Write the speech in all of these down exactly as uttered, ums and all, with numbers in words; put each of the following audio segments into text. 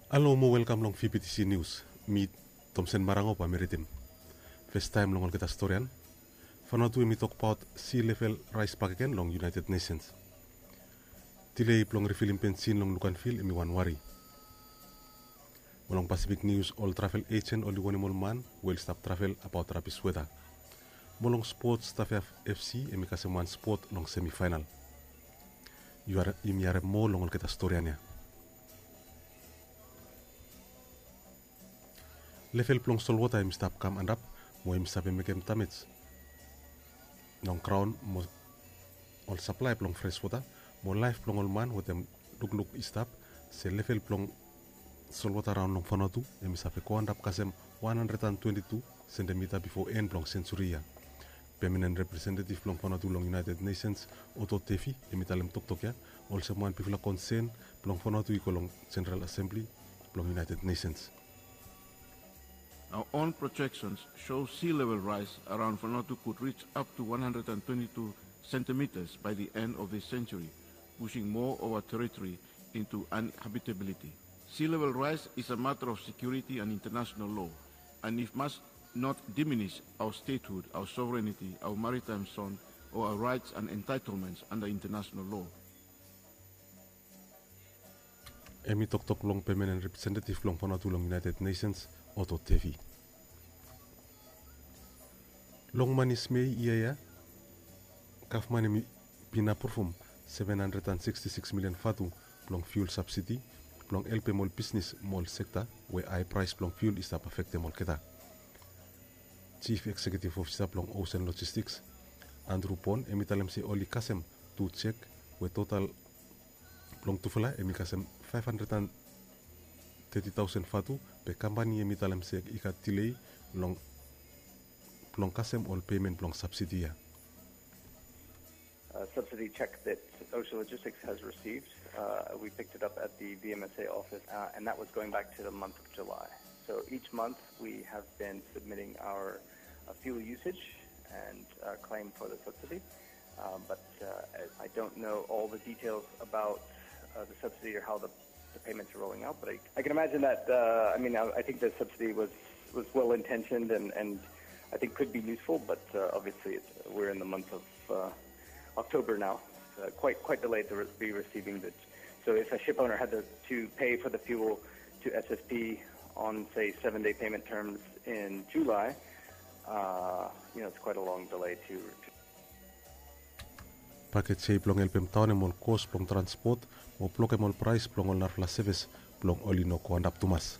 Halo mo welkam long V P T C News. Mi Tomsen Marango bae mi ridim. Festaem long olgeta storian. Vanuatu hemi tokbaot sea level rise bakegen long United Nations. Delay blong refilim bensin long Luganville hemi wan wari. Mo long Pacific News, ol travel agent oli wonem ol man we oli stap travel abaot rabis weta. Mo long spots, Tafea F C hemi kasem wan spot long semifinal. Yumi harem moa long olgeta storian ya. Level blong solwota hemi stap kam antap mo hemi save mekem damej long graon mo ol saplae blong freswota mo laef blong ol man wetem lukluk i stap se level blong solwota raon long Vanuatu hemi save go antap kasem wan handred an twenti tu sentimita bifo en blong sensuri ya. Pemanen representetiv blong Vanuatu long United Nations, Otto Tefi, hemi talem toktok ya olsem wan bigfala konsen blong Vanuatu i go long Jeneral Asembli blong United Nations. Our own projections show sea level rise around Vanuatu could reach up to one hundred and twenty-two centimeters by the end of this century, pushing more of our territory into uninhabitability. Sea level rise is a matter of security and international law, and it must not diminish our statehood, our sovereignty, our maritime zone, or our rights and entitlements under international law. Hemi toktok long pemanen representetiv blong Vanuatu long United Nations, Otto Tefi. Long manis Mei yia ya, gavman hemi bin apruvum seven hundred and sixty-six million vatu blong fuel subsidy blong helpem ol bisnis mo ol sekta we hae praes blong fuel i stap afektem olgeta. Chief Executive Officer blong Ocean Logistics, Andrew Pon, hemi talem se oli kasem tu jek we total blong tufala hemi kasem five hundred and thirty thousand vatu, be kampani hemi talem se i gat delay long blong kasem ol pemen blong subsidy ya. Uh, subsidy check that Ocean Logistics has received. Uh, we picked it up at the V M S A office, uh, and that was going back to the month of July. So each month we have been submitting our uh, fuel usage and uh, claim for the subsidy. Um, but uh, I, I don't know all the details about uh, the subsidy or how the the payments are rolling out. But I, I can imagine that, uh, I mean, I, I think the subsidy was, was well intentioned and, and I think could be useful, but uh, obviously it's, we're in the month of uh, October now. It's uh, quite, quite delayed to re- be receiving the. So if a ship owner had to, to pay for the fuel to S S P on, say, seven day payment terms in July, uh, you know, it's quite a long delay to, to Pakej ya i blong helpem daonem ol kos blong transpot mo blokem ol praes blong ol narafala sevis blong oli no go antap tumas.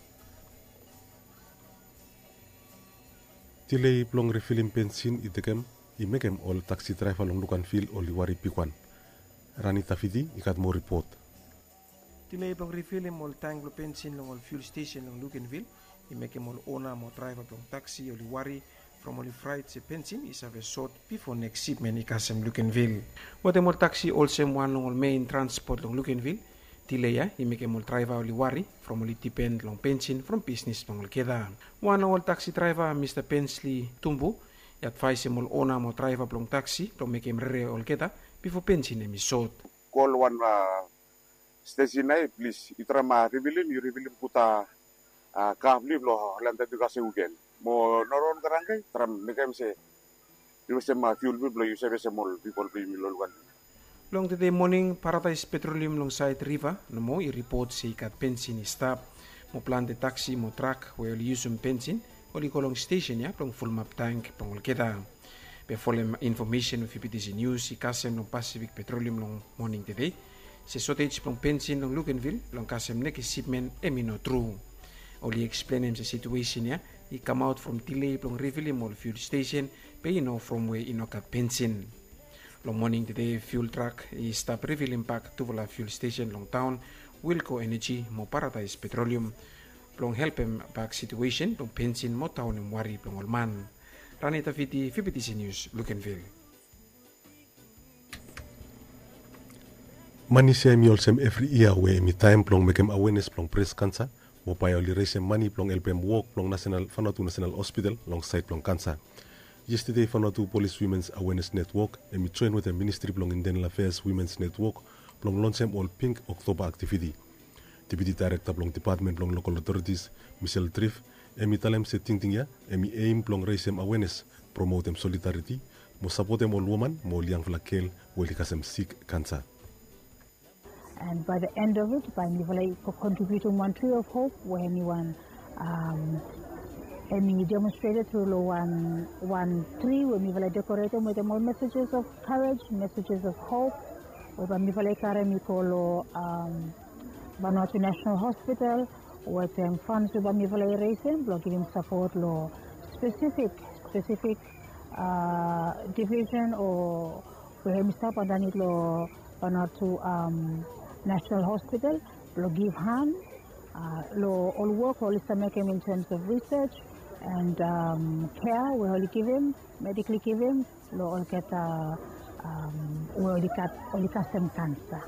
Delay blong refilim bensin i tekem i mekem ol taksi draeva long Luganville oli wari bigwan. Rani Tafiti i gat moa ripot. Delay blong refilim ol tank blong bensin long ol fuel stesen long Luganville i mekem ol ona mo draeva blong taksi oli wari from oli fraet se bensin i save sot bifo neks sipmen i kasem Luganville. Wetem ol taksi olsem wan long ol mein transpot long Luganville, delay ya i mekem ol draeva oli wari from oli dipen long bensin from bisnis blong olgeta. Wan long ol taksi draeva, Mista Bensley Tumbu, i advaesem ol ona mo draeva blong taksi blong mekem rere olgeta bifo bensin hemi sot. Kol wan stesen ya, plis yu traem rifilim, yu rifilim gud a ka blong yu blong landed yu kasem wiken. Mo no ron garang ya, traem mekem se yu wastem fiul blong yu, blong yu save wastem ol pipol blong yumi long Luganville. Long tede moning, Paradise Petroleum long saed riva nomo i ripot se i gat bensin i stap mo plante taksi mo trak we oli yusum bensin oli go long stesen ya blong fulumap tank blong olgeta. Be folem infomesen we V P T C News i kasem long Pacific Petroleum long moning tede se sotej blong bensin long Luganville blong kasem nekis sipmen hemi no tru. Oli eksplenem se situesen ya i kamaot from delay blong rifilim ol fiul stesen, be i no from we i no gat bensin. Long moning tede fiul trak i stap rifilim bak tufala fiul stesen long taon, Wilco Energy mo Paradise Petroleum, blong helpem bak situesen blong bensin mo daonem wari blong ol man. Rani Tafiti, V P T C News, Luganville. Manis ya hemi olsem evri yia we hemi taem blong mekem awenes blong bres kansa mo bae oli resem mane blong helpem wok blong Vanuatu Nasenal Hospital long saed blong kansa. Yestede Vanuatu Polis Wimens Awenes Netwok hemi joen wetem Ministri blong Intenal Afeas Wimens Netwok blong lonsem ol Pink Oktoba aktiviti. Deputi Daerekta blong Depatmen blong Lokol Otoritis, Michelle Triff, hem i talem se tingting ya hem i eim blong resem awenes, promotem solidariti, mo sapotem ol woman mo ol yangfala gel we oli kasem sik kansa. And by the end of it, bae mifala i kontribiutim wan Tree of Hope we hem i wan, hem i demonstrated tru long wan tri we mifala i dekoretem wetem ol messages of courage, messages of hope, we bae mifala i karem i go long Vanuatu National Hospital wetem funds we bae mifala i resem blong givim sapot long specific specific division o we hem i stap andanit long Vanuatu National Hospital blong givhan long ol wok we oli stap mekem in terms of research and care we oli givim, medically givim long olgeta we oli kasem kansa.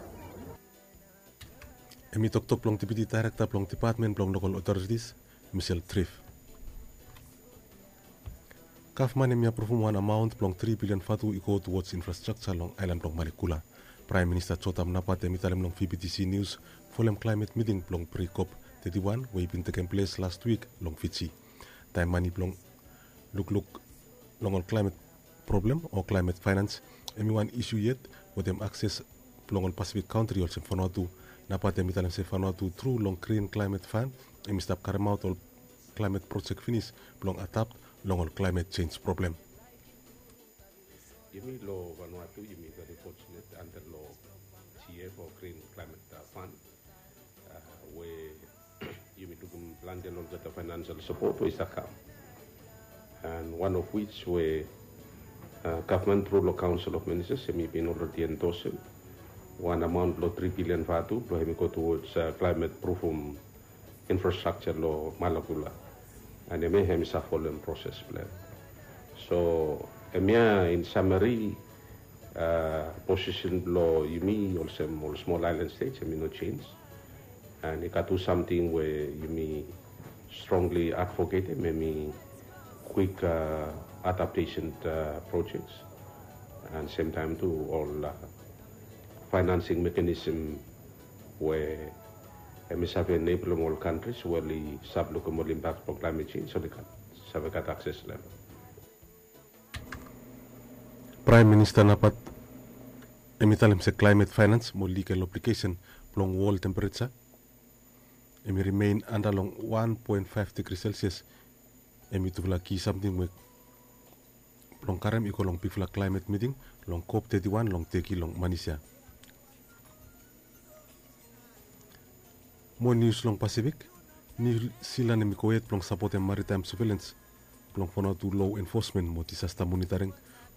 Hem i toktok blong Deputi Daerekta blong Depatmen blong Lokol Otoritis, Michelle Triff. Gavman hem i apruvum wan amaon blong tri bilian vatu i go towards infrastructure long aelan blong Malekula. Praem Minista Jotham Napat hem i talem long VBTC News folem klaemet miting blong pre-COP teti wan we i bin tekem ples last wik long Fiji. Taem mane blong lukluk long ol klaemet problem o klaemet faenans hem i wan isu yet wetem akses blong ol Pasifik kantri olsem Vanuatu. Napat hem i talem se Vanuatu tru long Green Climate Fund hem i stap karemaot ol klaemet projek finis blong adapt long ol klaemet jenj problem. Yumi long Vanuatu yumi very fortunate under long GF o Green Climate Fund we yumi lukim plante long olgeta financial support we i stap kam. And one of which we gavman tru long Council of Ministers hem i bin already endorse wan amount blong tri bilian vatu blong hem i go towards climate proofum infrastructure long Malekula. And hemia hem i stap folem proses blong hem. So hemia in summary posisen blong yumi olsem ol small island states hem i no jenj. And i gat tu samting we yumi strongly advocatem hem i quick adaptation projects and same time tu ol financing mechanism we hem i save enablem ol countries we oli save lukim ol impact blong climate change oli gat save gat access long hem. Praem Minista Napat hem i talem se klaemet faenans mo ligal obligesen blong wol tempereja hem i rimen anda long wan poen faef digri Celsius. Hem i tufala ki samting we blong karem i go long bigfala klaemet miting long COP teti wan long Teki long Manis ya. Mo nius long Pasifik, Niu Silan hem i gohed blong sapotem maritaem surveilens blong Vanuatu lo enfosmen mo disasta monitaring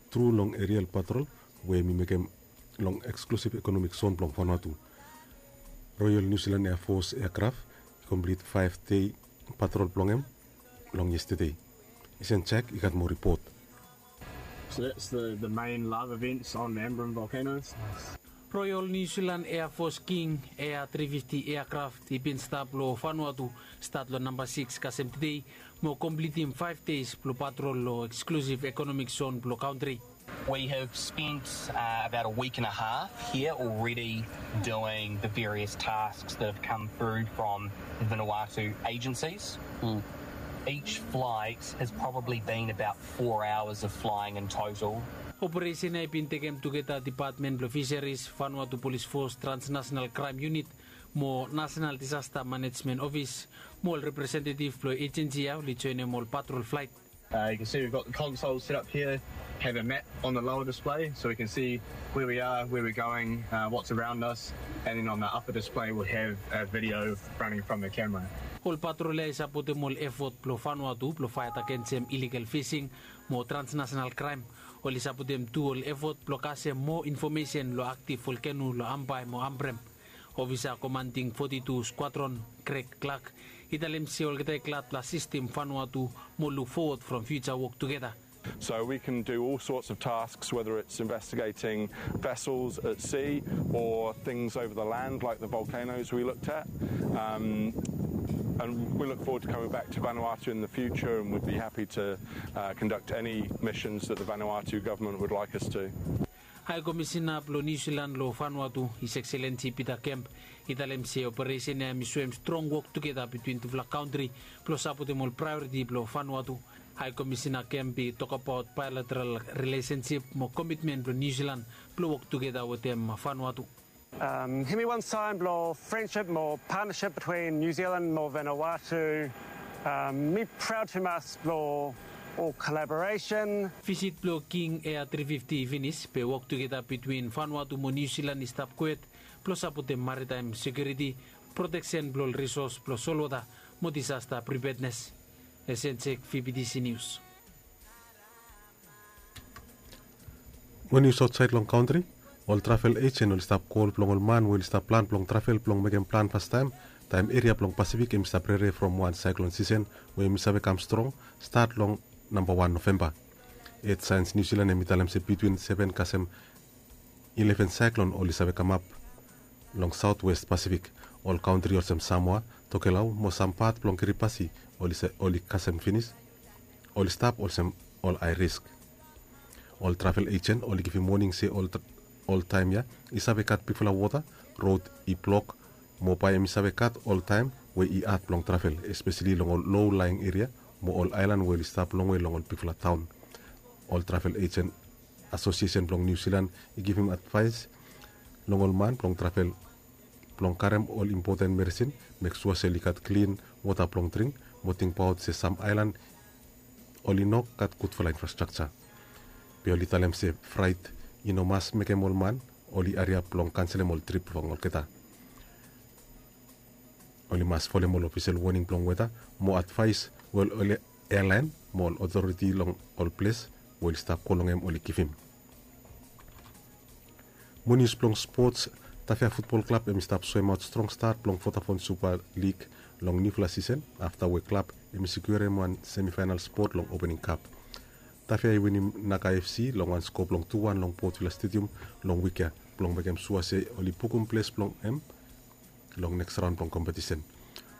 tru long erial patrol we hem i mekem long eksklusiv ekonomik zon blong Vanuatu. Royal New Zealand Air Force eakraf i komplit faef dei patrol blong hem long yestade. Isen Jack i gat moa ripot. So that's the, the main lava vents on Ambrym volcanoes. Royal New Zealand Air Force King Air tri fifti aircraft i bin stap long Vanuatu stat long namba sikis kasem tede mo komplitim faef deis blong patrol long eksklusiv ekonomik zon blong kantri. We have spent uh, about a week and a half here already doing the various tasks that have come through from the Vanuatu agencies. Mm. Each flight has probably been about four hours of flying in total. Operesen ya i bin tekem tugeta Depatmen blong Fiseris, Vanuatu Polis Fos, Transnational Kraem Unit mo Nasenal Disasta Manejmen Ofis mo ol representetiv blong ejensi ya oli joenem ol patrol flaet. Uh, you can see we've got the console set up here, have a map on the lower display so we can see where we are, where we're going, uh, what's around us, and then on the upper display we'll have a video running from the camera. Ol patrol ya i sapotem ol efot blong Vanuatu blong faet agensem iligal fising mo transnasenal kraem. Oli sapotem tu ol efot blong kasem moa infomesen long aktiv volkeno long Ambae mo Ambrym. Ofisa komanding foti tu skuadron, Greg Clark, i talem se olgeta i glad blong asistem Vanuatu mo luk fowod from fiuja wok tugeta. So we can do all sorts of tasks, whether it's investigating vessels at sea or things over the land like the volcanoes we looked at. Um, and we look forward to coming back to Vanuatu in the future, and we'd be happy to uh, conduct any missions that the Vanuatu government would like us to. Hae Komisina blong Niu Silan long Vanuatu, His Excellency Peter Kemp, i talem se operesen ya hem i soem strong wok tugeta bitwin tufala kantri blong sapotem ol praeoriti blong Vanuatu. Hae Komisina Kemp i tokbaot baeloteral rilesensip mo komitmen blong Niu Silan blong wok tugeta wetem Vanuatu. Hem i wan saen blong frensip mo patnesip bitwin Niu Silan mo Vanuatu. Mi praod tumas blong ol kolaboresen. Visit blong King Air tri fifti i finis be wok tugeta bitwin Vanuatu mo Niu Silan i stap kwet blong sapotem maritaem sekiuriti, proteksen blong ol risos blong solwota mo disasta pripednes. Esensek, V B T C Nius. Mo nius aotsaed long kantri, ol travel ejen oli stap kol blong ol man we oli stap plan blong travel blong mekem plan fastaem, taem eria blong Pasifik hem i stap rere from wan saeklon sisen we hem i save kam strong, stat long namba wan Novemba. Earth Science New Zealand hem i talem se bitwin seven kasem ileven saeklon oli save kamap long Saotwes Pasifik. Ol kantri olsem Samoa, Tokelau mo sam pat blong Kiribati oli kasem finis, oli stap olsem ol hae risk. Ol travel ejen oli givim woning se ol taem ya i save gat bigfala wota, rod i blok, mo bae hem i save gat ol taem we i had blong travel, espeseli long ol low laeng eria mo ol aelan we oli stap longwe long ol bigfala taon. Ol travel ejen asosiesen blong Niu Silan i givim advaes long ol man blong travel blong karem ol impoten medisin, mek sua se oli gat klin wota blong dring, mo tingbaot se sam aelan oli no gat gudfala infrastrakja. Be oli talem se fraet i no mas mekem ol man oli hariap blong kanselem ol trip blong olgeta. Oli mas folem ol ofisel woning blong weta mo advaes we ol ealaen mo ol otoriti long ol ples we oli stap go long hem oli givim. Mo nius blong spots, Tafea Futbol Klab hem i stap soemaot strong stat blong Vodafone Super League long niufala sisen afta we klab hem i sikiurem wan semifaenal spot long opening kap. Tafea i winim Naga F C long wan sko blong tu wan long Port Vila Stadium long wik ya blong mekem sua se oli bukum ples blong hem long neks raon blong kompetisen.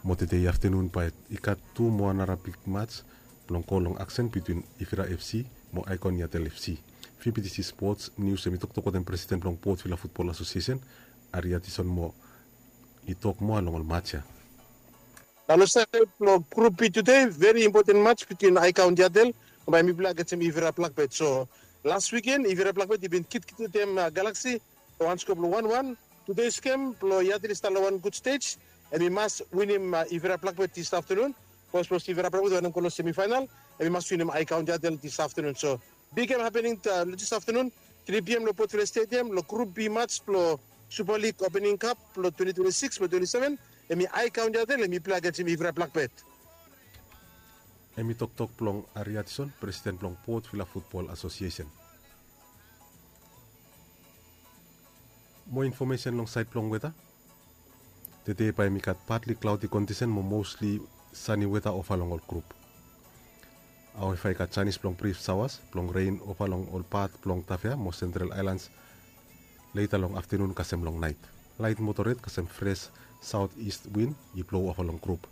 Mo tede aftenun bae i gat tu moa nara big mats blong go long aksen bitwin Ivira F C mo Icon Yatel F C. V B T C Sports News hem i toktok wetem presiden blong Port Vila Futbol Asosiesen, Ari Atison, mo i tok moa long ol mats ya. Na long saed blong Grup B tude, veri impoten mats bitwin Icon Yatel bae mifala agensim Ivira Blakbet. So las wiken Ivira Blakbet i bin kitkit wetem Galaksi long wan sko blong wan wan. Tude gem blong Yatel i stap long wan gud stej. Hem i mas winim Ivira Blakbet dis aftenun. Bikos Ivira Blakbet wanem go long semifaenal, hem i mas winim Icon Yatel dis aftenun. So big gem hapening long dis aftenun, tri P M long Port Vila Stadium long Grup B mats blong Super League opening kap blong twenti twenti sikis mo twenti seven. Hem i Icon Yatel hem i pilai agensim Ivira Blakbet. Hem i toktok blong Ari Atison, presiden blong Port Vila Futbol Asosiesen. Moa infomesen long saed blong weta. Tede bae hem i gat patli klaodi kondisen mo mosli sani weta ova long ol grup. Aoeva i gat janis blong brif saoas blong ren ova long ol pat blong Tafea mo Sentral Aelans leta long aftenun kasem long naet. Laet moderet kasem fres saot ist win i blou ova long grup.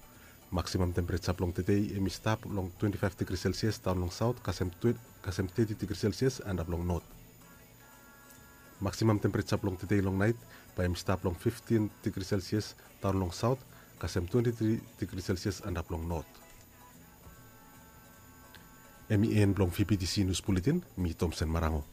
Maksimam tempereja blong tede hem i stap long twenti faef digri selsias daon long saot kasem teti digri selsias antap long not. Maksimam tempereja blong tede long naet bae hem i stap long fiftin digri selsias daon long saot kasem twenti tri digri selsias antap long not. Hem i en blong V B T C Nius Buletin. Mi Tomsen Marango.